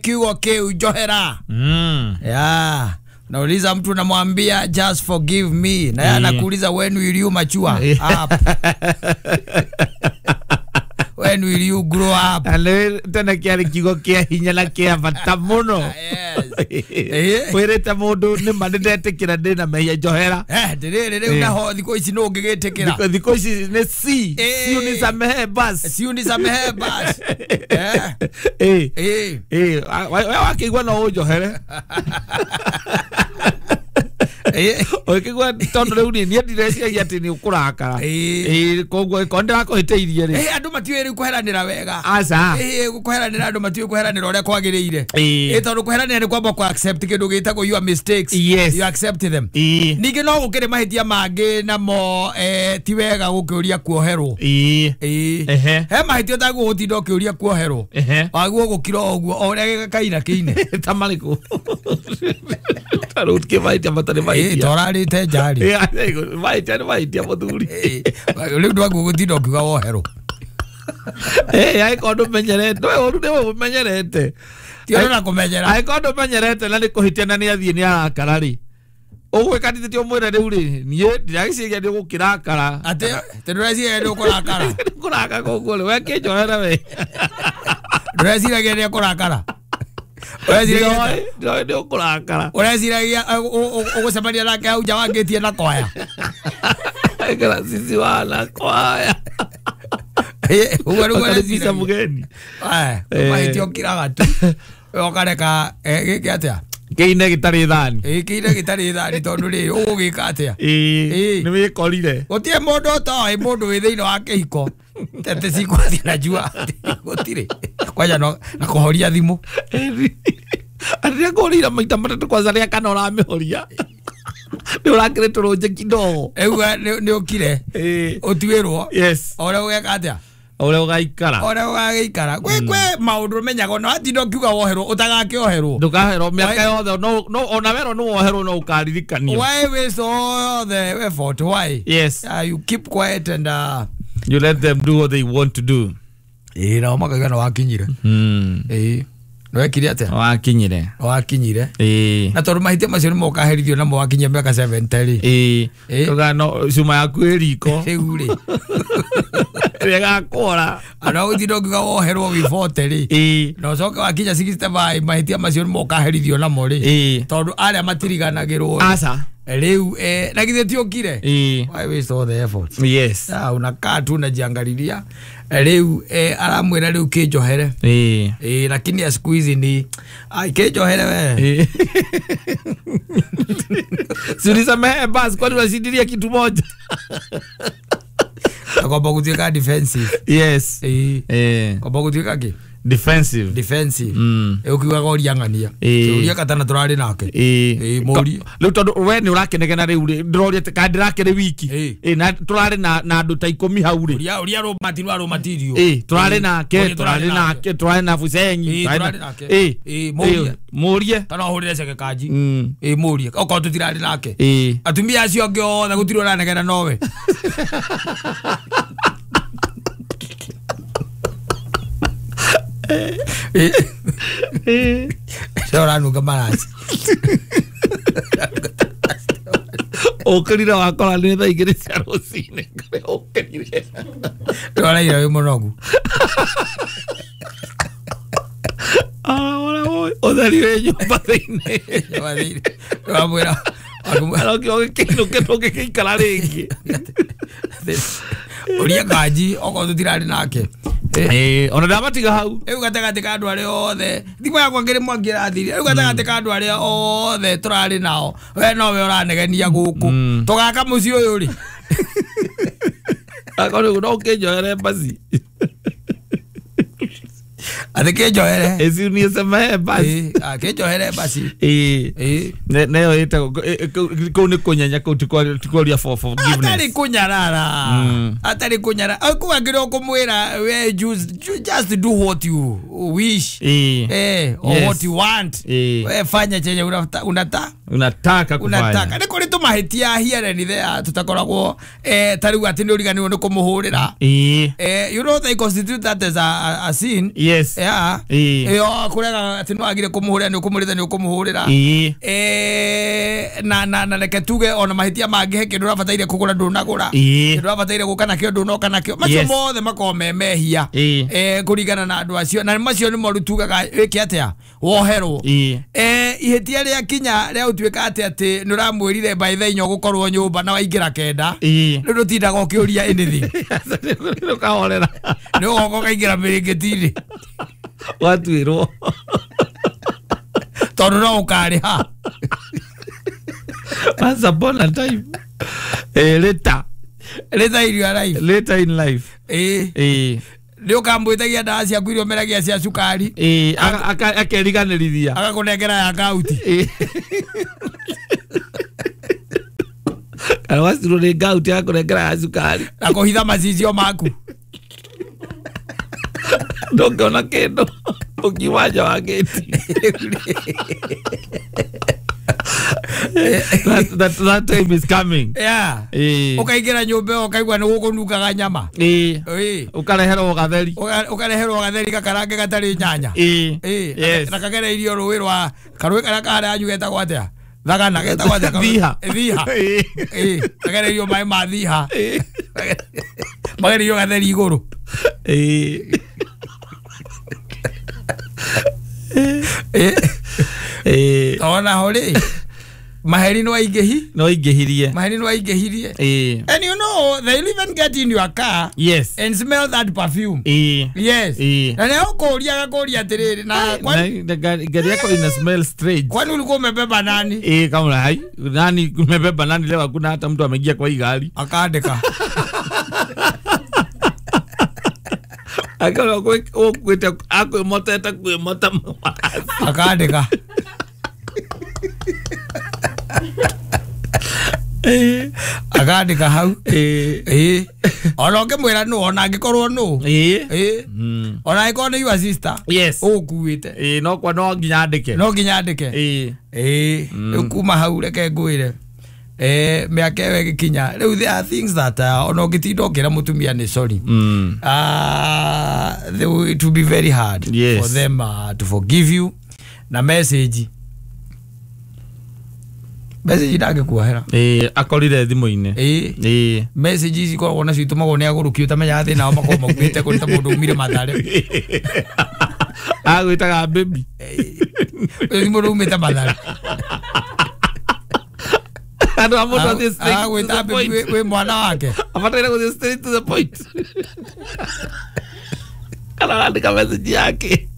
Kiugo kiu njohera. Yeah. Nauliza mtu namwambia just forgive me, na yeye anakuuliza when will you mature up? When will you grow up? Ale tena kiarĩ kiugo kĩa hinya na kĩa bata mũno. Yes. Wĩrĩte mũndũ nĩma nĩndetĩkĩra ndĩna mehia njohera. Ndĩrĩrĩ rĩu naho thikũ ici nũ ũngĩgĩtĩkĩra? Thikũ ici nĩ si si unisamehe basi. Si unisamehe basi. We wakĩigua no ũnjohere. Ũkĩigua tondũ rĩu niĩ ndireciria atĩ nĩ ũkũrakara. Koguo ĩkorwo ndĩrakũhĩtĩirie rĩ. Andũ matiũĩ rĩu kũheranĩra wega. Aca. Kũheranĩra andũ matiũĩ kũheranĩra ũrĩa kwagĩrĩire. Tondũ kũheranĩra nĩ kwamba kũ accept kĩndũ gĩtagwo your mistakes. Yes. You accept them. Ningĩ no gũkĩrĩ mahĩtia mangĩ namo ti wega gũkĩũria kuoherwo. He mahĩtia ũtagwo gũtinda ũkĩũria kuoherwo. Waguo gũkira o ũguo o ũrĩa gĩkaina kĩine. Ta marĩkũ? Ta rĩu kĩ mahĩtia matarĩ mahĩtia. Torarĩte njarĩ. Mahĩtia nĩ mahĩtia mũthuri. Rĩu ndwaguo gũtinda ũkiuga woherwo. Angĩkorwo ndũmenyerete, we ũru nĩwe ũmenyerete. Ti ũndũ na kũmenyera. Angĩkorwo ndũmenyerete na nĩ kũhĩtia na nĩ athiĩ nĩ arakara rĩ. Ũgwĩka atĩ ti ũmwĩre rĩu rĩ, niĩ ndiragĩciria nĩ ũgũkĩrakara. Atĩ ndũreciria nĩ ũkũrakara. Nĩ ũkũrakara koguo rĩ, we kĩnjohere we. Ndũreciragia nĩ ũkũrakara. Ndĩroĩ nĩ ũkũrakara. Ũreciragia ũgũcemania nake hau nja wangĩtie na kwaya. Ekera sisi wana kwaya. Ũguo nĩguo Wakaribisha ũreciragia. Mũgeni. Mahĩtia ũkiraga tu. Ũkareka gĩke atĩa? Kĩine gĩtarĩ thani. Kĩine gĩtarĩ thani tondũ rĩ ũgũgĩka atĩa? Nĩ wĩkorire. Gũtirĩ mũndũ ũtoĩ mũndũ wĩ thĩinĩ wa kĩhiko. Tete cikwathiĩ na njua. Gũtirĩ. Kwanja na kũhoria thimũ. Atĩ nĩakũhũrĩire maita matatũ kwanza rĩa kana ũramĩhoria. Nĩ ũrakĩrĩ tũrũnje kidogo. Ĩuga nĩ ũkire. Ũtuĩrwo. Yes. O ũrĩa ũgeka atĩa? Ũrĩa ũgaikara. Ũrĩa ũgagĩikara. Kwĩ maũndũ ũmenyaga ona watinda ũkiuga woherwo ũtagakĩoherwo. Ndũkaherwo mĩaka yothe no ona werwo nĩ woherwo no ũkaririkanio. Why waste all the effort? Why? Yes. You keep quiet and you let them do what they want to do. Nao makauga nĩ wakinyire. Nĩwekire atĩa? Wakinyire. Wakinyire. Na tondũ mahĩtia macio nĩmo ũkaherithio namo wakinyia mĩaka 70 rĩ. Tũga no cuma yaku ĩ riko. Rĩu rĩ. Ĩrĩa ĩgakũra. Ona ũgũtinda ũkiuga woherwo wĩ 40 rĩ. Na ũcoke wakinya 65 mahĩtia macio nĩmo ũkaherithio namo rĩ. Tondũ arĩa matiriganagĩrwo. Aca. Rĩu na githĩ ti ũkire? Why waste all the effort? Yes. Unakaa tu unajiangalilia. Rĩu aramwĩra rĩu kĩnjohere. Lakini ya siku hizi ni kĩnjohere we. Si unisamehe basi kwani unashindilia kitu moja. Kwamba gũtuĩka defensive. Yes. Kwamba gũtuĩka kĩ? Defensive. Defensive. Ũkiugaga ũria ng'ania. Ũria katana tũrarĩ nake. Mũrie. Rĩu tondũ we nĩ ũrakenegena rĩu rĩ, ndĩroria kana ndĩrakĩrĩ wiki. Na tũrarĩ na andũ ta 10 hau rĩ. Ũria rũmati rwa rũmatirio. Tũrarĩ nake, tũrarĩ nake, tũrarĩ na Bucenyi. Tũrarĩ nake. Mũrie. Mũrie. Kana ũhũrĩre ceke kanji. Mũrie. Okorwo tũtirarĩ nake. Atumia acio angĩ othe gũtirĩ ũranegena nowe. Ũranunga maraci. Ũkĩrire wakora nĩ thaa 2 cia rũcinĩ kũrĩa ũkĩrire. Ũraira wĩ mũnogu. Ũtheri wĩ nyũmba thĩinĩ. Wamwĩra Arokire ũgĩkĩinũke ndũngĩgĩikara rĩngĩ. Ũria kanji okorwo tũtirarĩ nake. Ona ndamatiga hau. Rĩu gatagatĩ ka andũ arĩa othe thimũ yakwa ngĩrĩ mwangi ĩrathirire. Rĩu gatagatĩ ka andũ arĩa othe tũrarĩ nao we nowe ũranegenia gũkũ. Tũgaka mũciĩ ũyũ rĩ. Akorwo no ũkĩnjohere basi. Atĩ kĩnjohere. Si unisamehe basi. Kĩnjohere basi. Neyo ĩtagwo kũu nĩ kũnyenya kũu ti kwaria for forgiveness. Atarĩ kũnyarara. Atarĩ kũnyarara. Kũu angĩrĩ ũkũmwĩra we just do what you wish. Or what you want. We fanya chenye unataka. Unataka kufanya. Unataka. Nĩ kũrĩ tũmahĩtia here and there tũtakoragwo ta rĩu atĩ nĩ ũriganĩirwo nĩ kũmũhũrĩra. You know they constitute that as a sin. Yes. Yeah. Ĩyo kũrega atĩ nĩ wagire kũmũhũrĩra nĩ ũkũmũrĩra nĩ ũkũmũhũrĩra. Na reke tuge ona mahĩtia mangĩ he kĩndũ ũrabataire kũgũra ndũnagũra. Kĩndũ ũrabataire gũka nakĩo ndũnoka nakĩo. Macio mothe makoragwo me mehia. Kũringana na andũ acio na macio nĩmo rĩu tugaga wĩke atĩa woherwo. Ihĩtia rĩa kinya rĩa ũtuĩka atĩ nĩ ũramwĩrire by the inya ũgũkorwo nyũmba na waingĩra 9 rĩu ndũtindaga ũkĩũria anything. Ũkahorera. Nĩ ũgoka ũkaingĩra mĩrĩngĩti-inĩ. Watuĩrwo. Tondũ no ũkarĩha. Once upon a time. Later. Later in your life. Later in life. Nĩ ũkamwĩtagia ndawa ciaku iria ũmeragia cia cukari. Akeriganĩrithia. Agakũnengera ya kauti. Kana wacirwo nĩ ngauti agakũnengera ya cukari. Na kũhitha macicio maku. Ndũngĩona kĩndũ ũkiuma nja wa gĩti. That time is coming. Yeah. Ũkaingĩra nyũmba ĩyo ũkaigua nĩ gũkũnungaga nyama. Ũkareherwo gatheri. Ũkareherwo gatheri gakarange gatarĩ nyanya. Yes. Na kagereirio rũĩ rwa karũĩ karĩa karĩa anyu getagwo atĩa? Thagana getagwo atĩa? Thiha. Thiha. Kagereirio maĩ ma thiha. Magereirio gatheri igũrũ. Ona ho rĩ maheri no aingĩhi. No aingĩhirie. Maheri no aingĩhirie. And you know they even get in your car. Yes. And smell that perfume. Yes. Na nĩ ũkũria agakũria atĩrĩrĩ na kwani gari yako ina smell strange. Kwani ulikuwa umebeba nani? Kama hai nani umebeba nani leo hakuna hata mtu ameingia kwa hii gari. Akaandika. Akaona kwete akwemota kwemota. Akaandika. Akandika hau. Ona ũngĩmwĩra nũ ona angĩkorwo nũ. Ona angĩkorwo nĩ your sister. Yes. Ũkuĩte. No kwa no nginya andĩke. No nginya andĩke. Rĩu kuma hau reke ngwĩre. Mĩaka ĩyo ĩgĩkinya rĩu there are things that ona ũngĩtinda ũkĩra mũtumia nĩ sorry. It will be very hard for them to forgive you. Na message ndangĩkuohera. Akorire thimũ-inĩ. Message ici ikoragwo nacio itũmagwo nĩ agũrũki ũtamenyaga thĩna wao makoragwo maumĩte kũrĩ ta mũndũ umire Mathare. Agwĩtaga baby. Ũyũ ti mũndũ umĩte Mathare. Andũ a mũndũ athiĩ straight to the point. Wĩ mwana wake. Abataire gũthiĩ straight to the point. Kana arandĩka message yake.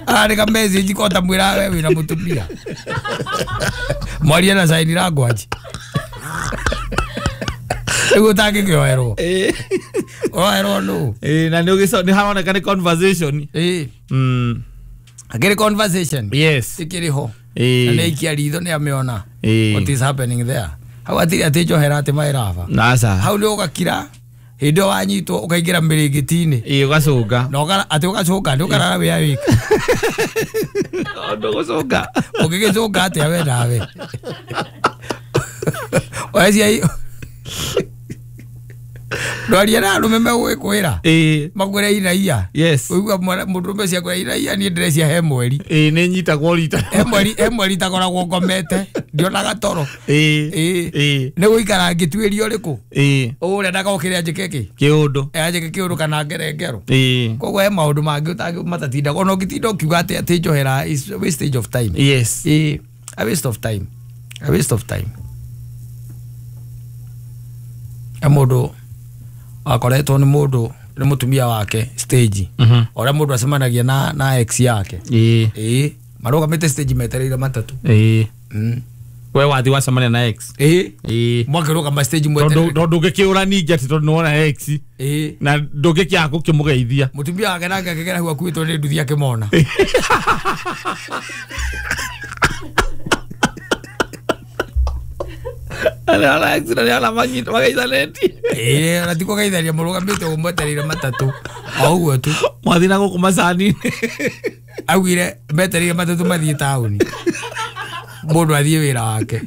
Arandĩka message ko ta mwĩra we wĩna mũtumia. Mwaria na sign language. Rĩu ũtangĩkĩoherwo. Ũroherwo nũ? Na nĩ haroneka nĩ conversation. Akĩrĩ conversation. Yes. Ĩkĩrĩ ho. Na nĩ aikia ritho nĩ amĩona. What is happening there? Hau atirĩ atĩ njohera atĩ maĩraba. Aca. Hau nĩ ũgakira. Hĩndĩ ĩyo wanyitwo ũkaingĩra mĩrĩngĩti-inĩ. Ũgacũnga. Na atĩ ũgacũnga nĩ ũkarara wĩ awake. Ndũgũcũnga. Ũngĩgĩcũnga atĩa we nawe? Oecia ndwaria na arũme megũgĩkwĩra. Makwĩre iraia. Yes. Ũigua mũndũrũme ũcio akwĩra iraia niĩ ndĩrecia he mweri. Nĩ nyitagwo rita. He mweri itakoragwo ngomete. Ndionaga toro. Nĩ gũikara ngĩtuĩria ũrĩkũ? Ũrĩa ndagokĩre anjĩke kĩ? Kĩũndũ. Anjĩke kĩũndũ kana ngere ngero. Koguo he maũndũ mangĩ matatindaga. Ona ũngĩtinda ũkiuga atĩ njohera is a wastage of time. Yes. A waste of time. A waste of time. Mũndũ akoretwo nĩ mũndũ nĩ mũtumia wake stage. Ũrĩa mũndũ acemanagia na ex yake. Marũgamĩte stage metereire matatũ. We wathi wacemania na ex. Mwakĩrũgama stage mwetereire. Tondũ ndũngĩkĩũra ningĩ atĩ tondũ nĩwona ex. Na ndũngĩkĩaga gũkĩmũgeithia. Mũtumia wake nake akĩgera hau akuĩtwo nĩ nduthi akĩmona. Ala ex na ala manyita magaithanĩtie. Ona ti kũgeithania mũrũgamĩte ũguo mwetereire matatũ. O ũguo tu. Mwathiĩ na gũkũ macani-inĩ. Augire metereire matatũ mathiĩ taũni. Mũndũ athiĩ wĩra wake.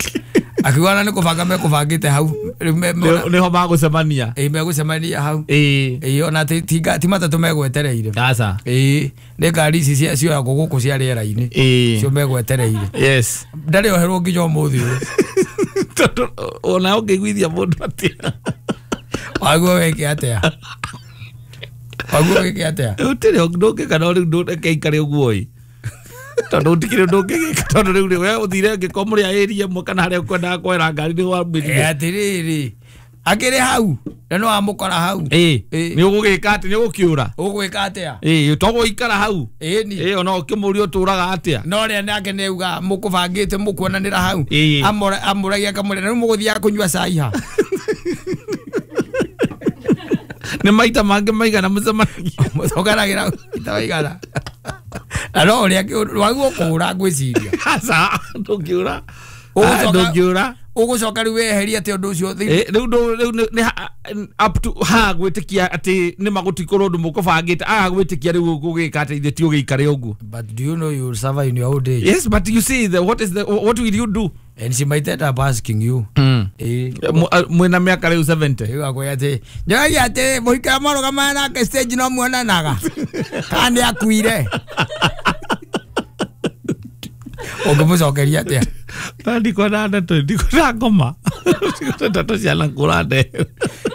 Akiuga na nĩ kũbanga mekũbangĩte hau. Nĩho magũcemania. Ĩĩ megũcemania hau. Ĩĩ ona ti matatũ megwetereire. Aca. Ĩĩ nĩ ngari ici cioyagwo gũkũ cia rĩera-inĩ. Cio megwetereire. Yes. Ndarĩ oherwo nginya ũmũthĩ ũyũ. Tondũ ona ũngĩiguithia mũndũ atĩa. Waguo wĩke atĩa? Waguo wĩke atĩa? Gũtirĩ ndũngĩka no rĩu ndũreke ikare ũguo ĩ. Tondũ gũtikĩrĩ ũndũ ũngĩgĩka tondũ rĩu we ũthire ũngĩkorwo mũrĩ a area ĩmwe kana harĩa ũkwendaga kuoera ngari nĩ wambĩrire. Atĩrĩrĩ akĩrĩ hau na no amũkora hau. Ĩĩ nĩ ũgũgĩka atĩ nĩ ũgũkĩũra. Ũgwĩka atĩa? Ĩĩ togũikara hau. Ĩni. Ĩĩ ona ũkĩmũria ũtũraga atĩa? No rĩa nake nĩ auga mũkũbangĩte mũkuonanĩra hau. Amũragia akamũria rĩu mũgũthiaga kũnyua cai ha? Nĩ maita mangĩ maigana mũcemanagia? Mũcokanagĩra maita maigana. Na no ũrĩa waguo kũũra ngwĩciria. Aca ndũngĩũra. Ndũngĩũra. Ũgũcoka rĩu weherie atĩ ũndũ ũcio. Rĩu rĩu nĩ up to ha gwĩtĩkia atĩ nĩ magũtikorwo ũndũ mũkũbangĩte aga gwĩtĩkia rĩu ũgũgĩka atĩ ithuĩ ti ũgĩikare ũguo. But do you know you will suffer in your old age? Yes, but you see the what is the what will you do? And she might end up asking you. Mwĩna mĩaka rĩu 70. Rĩu akwĩra atĩ njoragia atĩ mũhikara marũgamaga nake stage no muonanaga. Kana nĩ akuire. Ũngĩmũcokeria atĩa? Ndikwenda ndeto ndikwenda ngoma. Ndikwenda ndeto ciana kũra nde.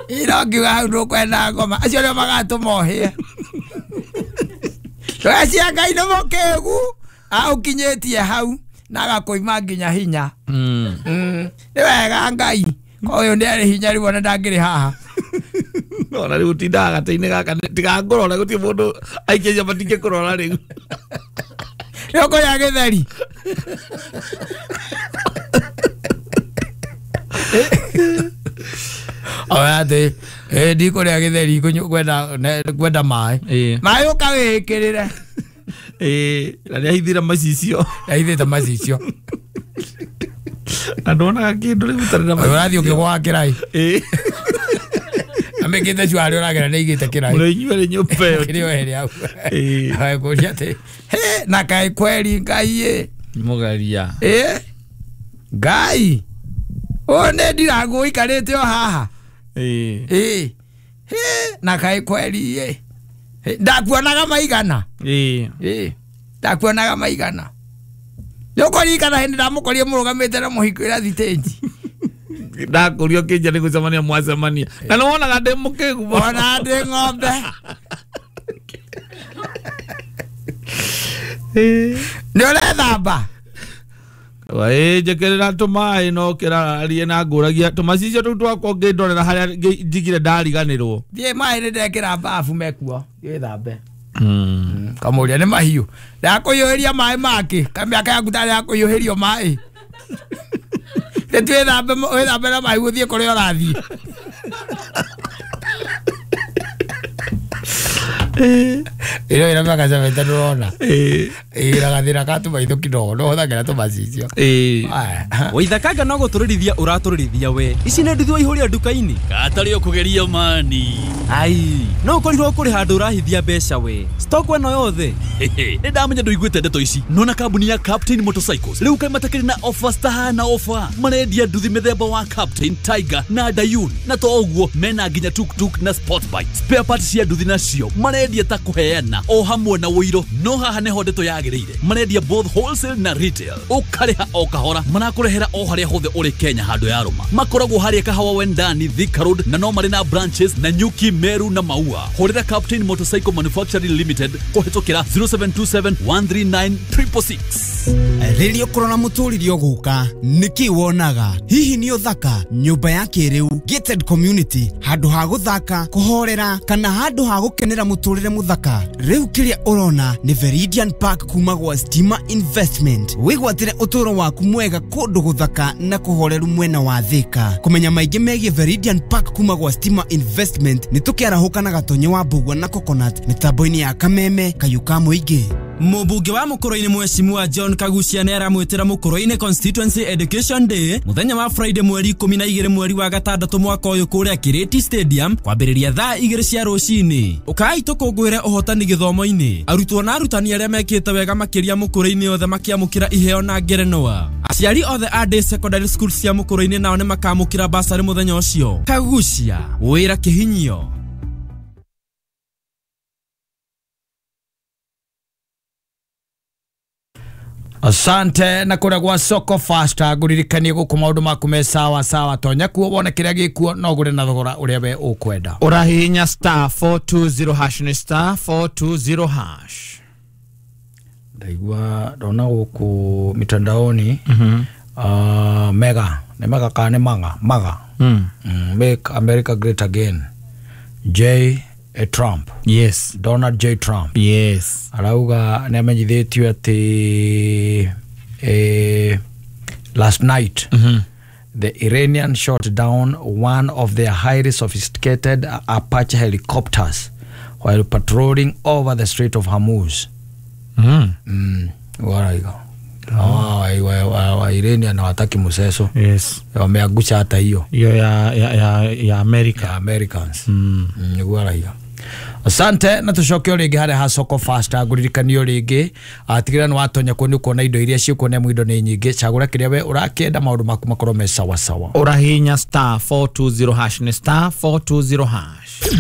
Ĩno ngiuga hau ndũkwenda ngoma. Acio nĩo magatũma ũhĩe. Ndũgecia Ngai nĩ mũkĩgu aũkinyĩtie hau na agakũima nginya hinya. Nĩ wega Ngai. Ũyũ nĩ arĩ hinya rĩu ona ndangĩrĩ haha. Ona rĩu ũtindaga gatĩ-inĩ gaka tigangũrora gũtirĩ mũndũ aikĩria matingĩkũrora rĩu. Nĩ ũkũrĩa gĩtheri. Oya atĩ ndikũrĩa gĩtheri kwenda maĩ. Maĩ ũka wĩĩkĩrĩre. Na nĩ ahithire macicio. Ahithĩte macicio. Na ndonaga kĩndũ rĩu ũtarĩ na macicio. Ũrathiĩ ũkĩgwaga kĩraĩ. Amĩkĩte cuarĩ ũragera nĩ aigĩte kĩraĩ. Mũno inyuerĩ nyũmba ĩyo. Kĩrĩ ohere hau. Kũria atĩ na kaĩ kweri Ngai ĩ. Mũgeria. Ngai. Ũyũ nĩ ndirangũ ũikarĩte o haha. Na kaĩ kweri ĩ. Ndakuonaga maigana. Ndakuonaga maigana. Nĩ ũkũririkana hĩndĩ ndamũkorire mũrũgamĩte na mũhiki ũrĩa thitĩnji. Ndakũria ũkĩnja nĩ gũcemania mwacemania. Na nĩ wonaga ndĩ mũkĩgu. Wona ndĩ ng'ombe. Nĩ ũrethamba? Ĩĩ njĩkĩrĩra tũmaĩ no kĩrarie na ngũragia tũmacicio tũu twakwa ngĩndorera harĩa njigire ndariganĩrwo. Thiĩ maĩ nĩ ndekĩra bafu mekuo. Wĩthambe. Kamũria nĩ mahiũ. Ndakũiyũhĩria maĩ makĩ. Kamĩaka yaku tarĩ ya kũiyũhĩrio maĩ. Wĩthambe na maĩ ũthiĩ kũrĩa ũrathiĩ. Ĩno ĩna mĩaka 70 ndũrona. Ĩna gathĩna ka tũmaitho kidogo no hũthagĩra tũmacicio. Waithakanga no gũtũrĩrithia ũratũrĩrithia we. Ici nĩ nduthi waihũria nduka-inĩ. Gatarĩ ũkũgeria mani. Ai, no ũkorirwo kũrĩ handũ ũrahithia mbeca we. Stock ĩno yothe. Nĩ ndamenya ndũiguĩte ndeto ici. Nona kambuni ya Captain Motorcycles rĩu kaĩ matakĩrĩ na offers tahana offer. Marendia nduthi mĩthemba wa Captain, Tiger na Dayun. Na to ũguo mena nginya tuk-tuk na sport bike. Spare parts cia nduthi nacio marendia ta kũheana o hamwe na ũiro. No haha nĩho ndeto yagĩrĩire. Marendia both wholesale na retail. Ũkarĩha o kahora. Marakũrehera o harĩa hothe ũrĩ Kenya handũ ya rũma. Makoragwo harĩa Kahawa Wendani, Thika Road na no marĩ na branches na Nyuki, Meru na Maua. Hũrĩra Captain Motorcycle Manufacturing Limited kũhĩtũkĩra 0727 139 666. Rĩrĩa ũkũrora mũtũrĩre ũgũka nĩkĩ wonaga? Hihi nĩ ũthaka, nyũmba ya kĩrĩu, gated community, handũ ha gũthaka, kũhorera kana handũ ha gũkenera mũtũrĩre mũthaka? Rĩu kĩrĩa ũrona nĩ Veridian Park kuma gwa Stima Investment. Wĩgwatĩre ũtũũro waku mwega kũndũ gũthaka na kũhoreru mwena wa Thika. Kũmenya maingĩ megiĩ Veridian Park kuma gwa Stima Investment nĩ tũkĩarahũka na Gatonye wa Mbugua na Coconut mĩtambo-inĩ ya Kameme Kayũ ka Mũingĩ. Mũmbunge wa Mũkũrũ-inĩ Mheshimiwa John Kagucia nĩ aramwĩtĩra Mũkũrũ-inĩ Constituency Education Day mũthenya wa Friday mweri 12 mweri wa gatandatũ mwaka ũyũ kũrĩa Kiriti Stadium kwambĩrĩria thaa 2 cia rũcinĩ. Ũkai tũkũngũĩre ũhotani gĩthomo-inĩ. Arutwo na arutani arĩa mekĩte wega makĩria Mũkũrũ-inĩ othe makĩamũkĩra iheo na ngerenwa. Aciari othe a day secondary school cia Mũkũrũ-inĩ nao nĩ makamũkĩra basarĩ mũthenya ũcio. Kagucia, wĩra kĩhinyio. Asante na kũrĩa gwa Soko Fasta ngũririkanie gũkũ maũndũ maku me sawa sawa, tonya kuo wone kĩrĩa gĩkuo no ũgũre na thogora ũrĩa we ũkwenda. Ũrahihinya star 420 hash nĩ star 420 hash. Ndaigua ndona gũkũ mitandaoni mega nĩ mega kana nĩ maga maga Make America Great Again, J Trump. Yes. Donald J Trump. Yes. Arauga nĩ amenyithĩtio atĩ last night the Iranian shot down one of their highly sophisticated Apache helicopters while patrolling over the Strait of Hormuz. Waraiga. Wa Iranian hawataki mseso. Yes. Wameangusha hata hiyo. Hiyo ya America. Ya Americans. Waraiga. Asante na tucoke o rĩngĩ harĩa ha Soko Fasta ngũririkanio rĩngĩ atigĩrĩra nĩ watonya kuo nĩ ũkuona indo iria ciĩkuo nĩ amu indo nĩ nyingĩ, cagũra kĩrĩa we ũrakĩenda maũndũ maku makorwo me sawa sawa. Ũrahihinya star 420 hash nĩ star 420 hash.